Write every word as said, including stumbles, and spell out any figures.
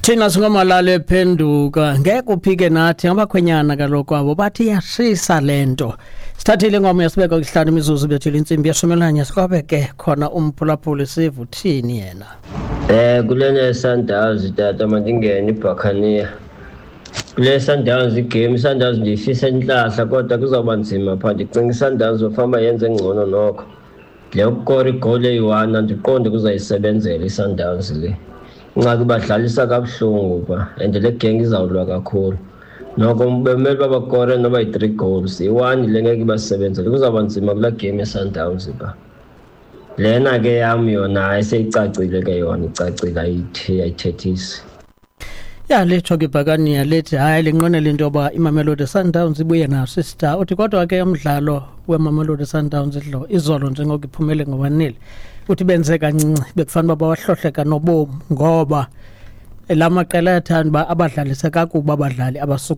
Thina singomalala ephenduka, ngeke uphike nathi ngabakhwenyana kaloku abo bathi iyashisa le nto. Sithathile ingoma yasibeka kuhlanu imizuzu bethile intsimbi yeshumi nanye, sikwabe ke khona umphulaphuli sive uthini yena. Eh kulena Sundowns tata, mandingene iBuccaneer. Kule Sundowns igame, Sundowns ndiyifisa intlahla, kodwa kuzawuba nzima phaa. Ndicinga iSundowns ufama yenze ngcono nokho. Le yokukora igoli eyi-one andiqondi kuzayisebenzela iSundowns le. Ingxaki badlalisa kabuhlungu phaa and le geng izawulwa kakhulu. Noko bemele uba bakore noba yi-three goals, i-one le ngeke ibasebenzele, kuzawuba nzima kulaa game yeSundowns phaa. Lena ke yam yona hayi seyicacile ke yona, icacile, ayithethisi. Ya, litsho ke ibhakaniya lithi hayi linqwenela into yoba iMamelodi Sundowns ibuye naso istar. Uthi kodwa ke umdlalo weMamelodi Sundowns idlo izolo njengoko iphumele ngo-one nil, uthi benze kancinci, bekufanele uba bawahlohle kanobom ngoba la maqela ayathanda uba abadlalise kakubi abadlali abasuka